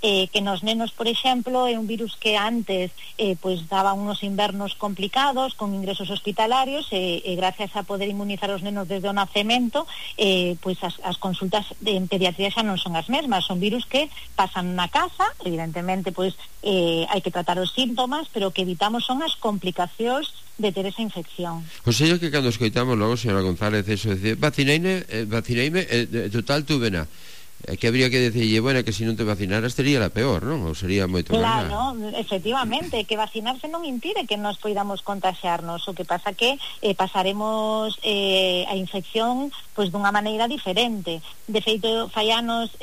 que nos nenos, por exemplo, é un virus que antes pois daba unos invernos complicados con ingresos hospitalarios e gracias a poder inmunizar os nenos desde o nacemento, pois as consultas en pediatría xa non son as mesmas, son virus que pasan na casa, evidentemente pois hai que tratar os síntomas, pero que evitamos son as complicacións de ter esa infección. O sea, que cando escoitamos logo, señora González, eso de decir, vacinaime, total tuvena, que habría que decirlle, bueno, que se non te vacinaras sería la peor, non? Ou sería moito máis. Claro, efectivamente, que vacinarse non impide que nos poidamos contaxiarnos, o que pasa que pasaremos a infección pois dunha maneira diferente. De feito, fai anos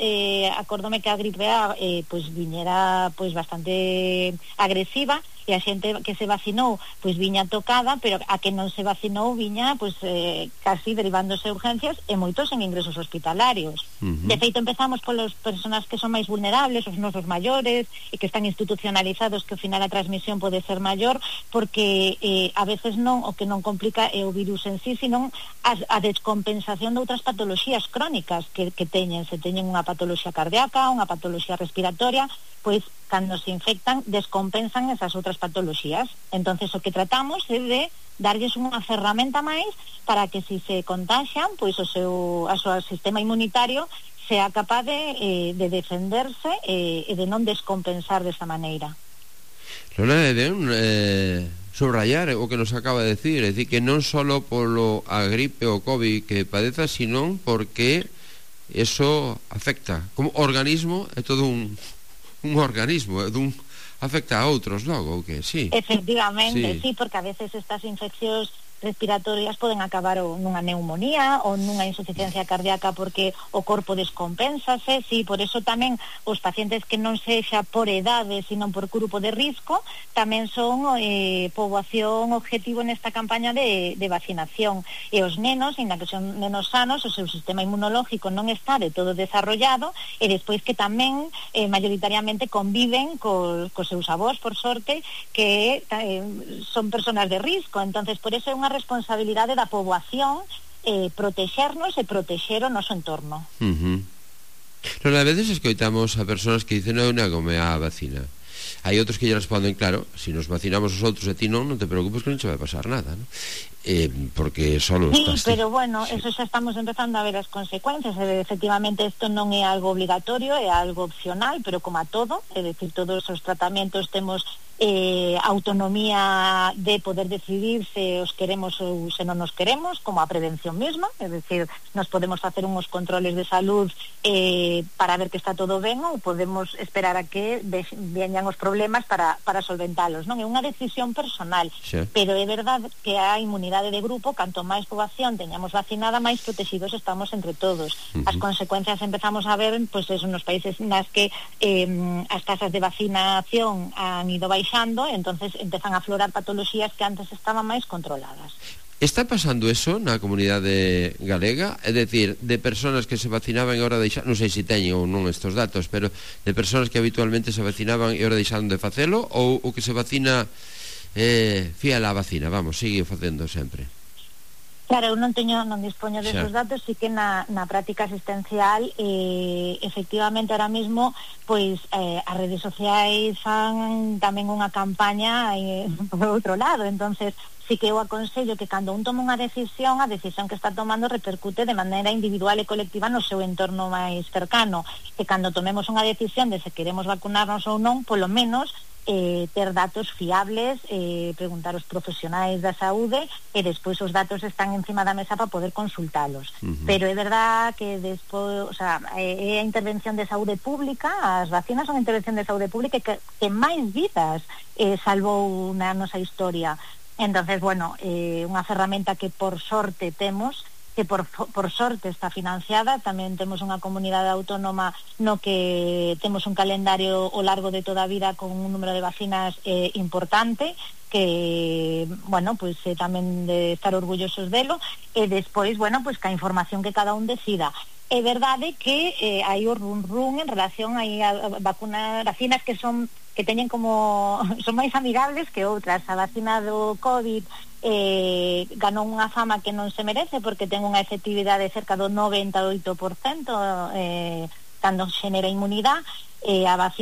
acórdome que a gripe A pois viñera pois bastante agresiva, e a xente que se vacinou pois viña tocada, pero a que non se vacinou viña pois casi derivándose a urgencias e moitos en ingresos hospitalarios. De feito, empezamos polas persoas que son máis vulnerables, os nosos maiores e que están institucionalizados, que ao final a transmisión pode ser maior, porque a veces non, o que non complica é o virus en sí, sino a descompensación de outras patoloxías crónicas que teñen. Se teñen unha patoloxía cardíaca, unha patoloxía respiratoria, pois cando se infectan descompensan esas outras patoloxías. Entonces o que tratamos é de darlles unha ferramenta máis para que se contaxian, pois o seu sistema inmunitario sea capaz de defenderse e de non descompensar desa maneira. Lola, é ben subrayar o que nos acaba de decir, é dicir, que non só polo a gripe ou COVID que padeza, sino porque eso afecta como organismo, é todo un organismo, afecta a outros logo, ou que sí. Efectivamente, sí, porque a veces estas infeccións respiratorias poden acabar nunha neumonía ou nunha insuficiencia cardíaca porque o corpo descompénsase. Sí, por eso tamén os pacientes que non sexa por edade, sino por grupo de risco, tamén son poboación objetivo nesta campaña de vacinación. E os nenos, ainda que son nenos sanos, o seu sistema inmunológico non está de todo desarrollado, e despois que tamén mayoritariamente conviven cos seus avós, por sorte, que son personas de risco. Entonces, por eso é unha responsabilidade da poboación protexernos e protexer o noso entorno. Non, a veces escoitamos a persoas que dicen non negome a vacina. Hai outros que lle responden, claro, se nos vacinamos os outros e ti non te preocupes que non che vai pasar nada, ¿no? Porque solo estás... Sí, pero bueno, eso xa estamos empezando a ver as consecuencias. Efectivamente, isto non é algo obligatorio, é algo opcional, pero como a todo, é dicir, todos os tratamentos temos autonomía de poder decidir se os queremos ou se non nos queremos, como a prevención mesma, é dicir, nos podemos facer uns controles de salud para ver que está todo ben, ou podemos esperar a que veñan os problemas para solventalos, non? É unha decisión personal, sí. Pero é verdade que a inmunidade de grupo, canto máis poboación teñamos vacinada, máis protegidos estamos entre todos. As consecuencias empezamos a ver, pois eso, nos países nas que as tasas de vacinación han ido baixando, entonces empezan a aflorar patoloxías que antes estaban máis controladas. Está pasando eso na comunidade galega? É dicir, de persoas que se vacinaban e ahora deixaron, non sei se teñen ou non estes datos, pero de persoas que habitualmente se vacinaban e ahora deixaron de facelo, ou o que se vacina fiel á vacina, vamos, sigue facendo sempre? Claro, eu non dispoño desos datos, sí que na práctica asistencial efectivamente ahora mesmo pois as redes sociais fan tamén unha campaña por outro lado, entonces sí que eu aconsello que cando un toma unha decisión, a decisión que está tomando repercute de maneira individual e colectiva no seu entorno máis cercano, que cando tomemos unha decisión de se queremos vacunarnos ou non, polo menos ter datos fiables, preguntar aos profesionais da saúde e despois os datos están encima da mesa para poder consultalos. Pero é verdad que despois, o sea, é a intervención de saúde pública, as vacinas son a intervención de saúde pública que máis vidas salvou na nosa historia. Entonces, bueno, unha ferramenta que por sorte temos, que por sorte está financiada. Tamén temos unha comunidade autónoma no que temos un calendario ao largo de toda a vida con un número de vacinas importante, que, bueno, pues tamén de estar orgullosos delo, e despois, bueno, pues que a información que cada un decida. É verdade que hai o run en relación a vacinas que teñen como son máis amigables que outras. A vacina do COVID ganou unha fama que non se merece porque ten unha efectividade cerca do 98% cando xenera inmunidade. A vacina